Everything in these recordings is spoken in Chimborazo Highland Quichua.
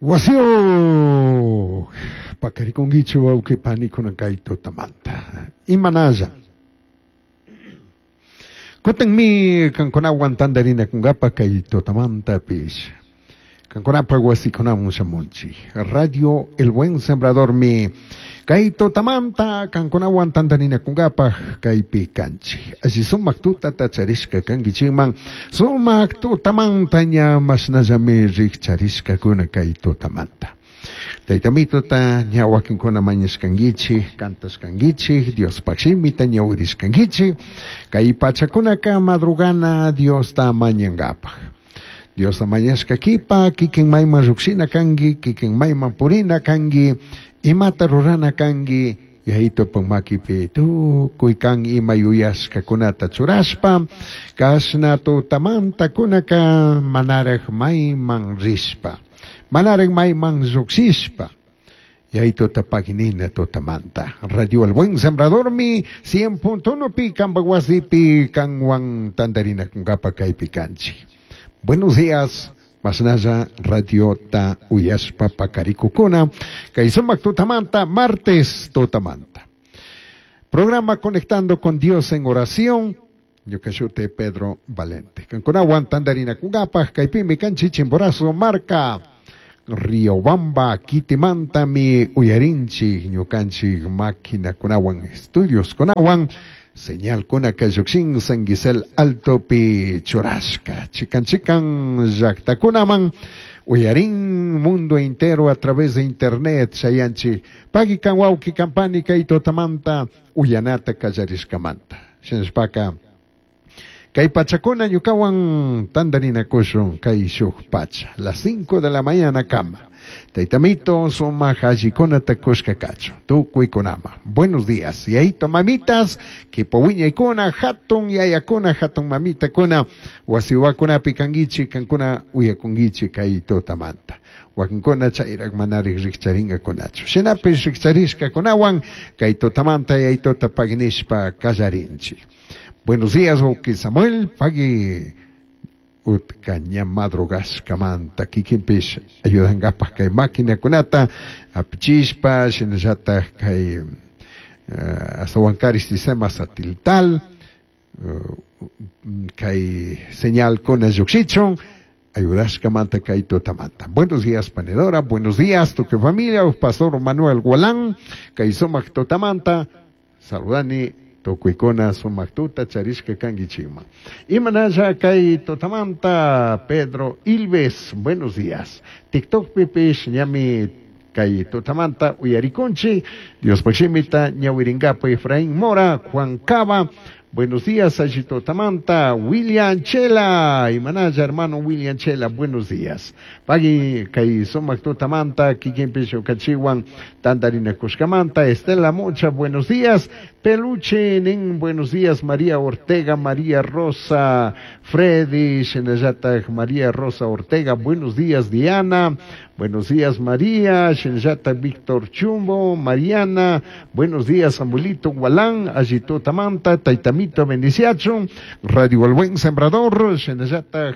Wasiyuq paqarikunkichu wawqi panikuna kay tutamanta. Imanalla. Kutinmi kankunawan tantarinakunkapaq kay tutamantapish. Kankunapaq wasikunaman shamunchik. Radio El Buen Sembradormi kay tutamanta kankunawan tantarinakunkapaq kaypi kanchik. Alli sumak tutata charishka kankichikman sumak tutamanta ña mashnallami rikcharishkakuna kay tutamanta. Taytamitota ña wakinkuna mañashkankichik, cantashkankichik, Diospaq shimita ñawirishkankichik, kay pachakunaka madrugana Diosta mañankapaq. Diosta mañashka kipa, kikin mayman lluqshina kanki, kikin mayman purina kanki, imata rurana kanki, Yayitopak makipi tukuy kan ima yuyashkakunata churashpa, kashna tutamanta kunaka manaraj mayman rishpa, manaraj mayman lluqshishpa. Yayitota paginina tutamanta. Radio El Buen Sembradormi 100.1 pi kanpak wasipi kanwan tantarinakunkapa kaypi kanchik. Buenos días. Masnalla Radio ta uyashpa pakarikukuna. Kay sumak tutamanta, martes tutamanta. Programa Conectando con Dios en Oración. Ñuka shuti Pedro Valente. Kankunawan tantarinakunkapaj kaypimi kanchik Chimborazo marka. Riobamba kitimantami uyarinchik ñukanchik maquinakunawan estudios kunawan señal kunaka llukshin San Gisel Altopi churashka chikan chikan llaktakunaman uyarin mundo entero a través de internet chayanchik pagui kan wawki kan pani kay tutamanta uyanata kallarishkamanta shinashpaka kay pachakuna ñukawan tantarinakushun kay shuk pacha las 5 de la mañana kama Taytamito sumak allikunata kushka kachun tukuykunama. Buenos días. Yayito mamitas, kipa wiñaykuna, hatun yayakuna, hatun mamitakuna, wasiwakunapi kankichik, kankuna uyakunkichik kay tutamanta. Wakinkuna chayrak manarik rikcharinkakunachu. Shinapish rikcharishkakunawan kay tutamanta yayitota paginishpa kallarinchik. Buenos días, wawqi Samuel, pagui utka ña madrugashkamanta kikinpish ayudankapaj kay maquinakunata apichishpa shinallataj kay astawankarik sistema satelital kay señalkuna llukshichun ayudashkamanta kay tutamanta. Buenos días, panedora, buenos días, tukuy familia, Pastor Manuel Gualán, kay sumak tutamanta, saludani tukuykuna sumak tuta charishka kankichikman. Imanalla kay tutamanta Pedro Ilves, buenos días. TikTok pipish ñami kay tutamanta uyarikunchik, Diospaj shimita ñawirinkapak Efraín Mora, Juan Cava, buenos días, alli tutamanta, William Chela, imanalla hermano William Chela, buenos días. Pagui kay sumak tutamanta, kikinpish ukanchikwan tantarinakushkamanta, Estela Mocha, buenos días, Peluche nin, buenos días, María Ortega, María Rosa, Freddy, shinallataj María Rosa Ortega, buenos días, Diana, buenos días, María, shinallataj Víctor Chumbo, Mariana, buenos días, Samuelito Gualán, alli tutamanta, Taytamito bendiciachun, Radio El Buen Sembrador, shinallataj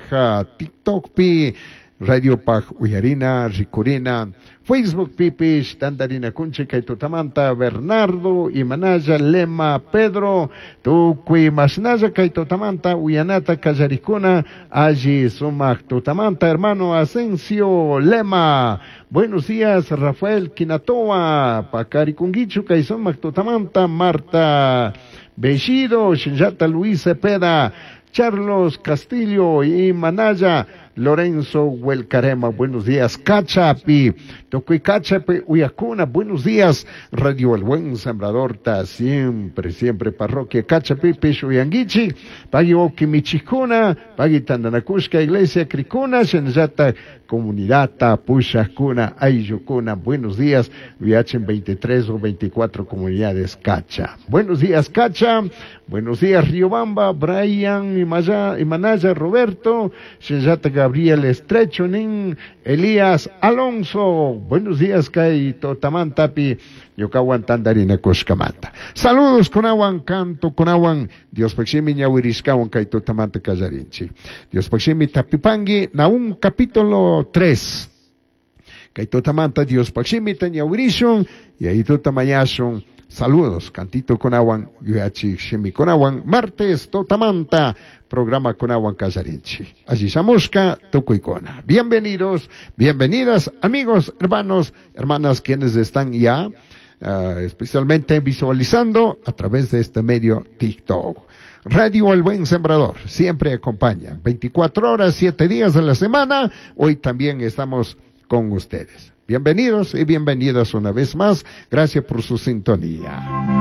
TikTok pi, Radio Paj Uyarina, Rikurina, Facebook pipish, tantarinakunchik kay tutamanta, Bernardo, Imanalla, Lema, Pedro, tukuy mashnalla kay tutamanta, uyanata kallarikuna, alli sumak tutamanta, hermano Asensio Lema, buenos días, Rafael Quinatoa, pakarikunkichu kay sumak tutamanta, Marta Bellido, Shinjata Luis Cepeda, Carlos Castillo y Manaya, Lorenzo Huelcarema, buenos días, Cachapi, Tocuy Cachapi, Uyacuna, buenos días, Radio El Buen Sembrador, ta siempre, siempre, parroquia Cachapi, Pishuyanguichi, Pagui Oquimichicuna, Pagui Tandanacushka, Iglesia Cricuna, Shenjata, Comunidad Tapushacuna, Ayucuna, buenos días, Viachen 23 o 24 comunidades Cacha. Buenos días, Cacha, buenos días, Riobamba, Brian, Imanaya, Roberto, Shenjata, Gabriel Estrecho, Nin, Elías Alonso, buenos días, Kay Totamantapi, ñukawan tantarinakushkamanta. Saludos kunawan, canto kunawan, Diospaj shimi ñawirishkawan kay tutamanta kallarinchik. Diospaj shimi tapipangi, Nahum capítulo 3. Kay tutamanta Diospaj shimita ñawirishun Yayituta mañashun. Saludos, cantito kunawan, yuyachik shimikunawan, martes tutamanta programa kunawan kallarinchik. Alli shamushka tukuykuna. Bienvenidos, bienvenidas, amigos, hermanos, hermanas, quienes están ya especialmente visualizando a través de este medio TikTok. Radio El Buen Sembrador siempre acompaña, 24 horas, 7 días de la semana. Hoy también estamos con ustedes. Bienvenidos y bienvenidas una vez más. Gracias por su sintonía.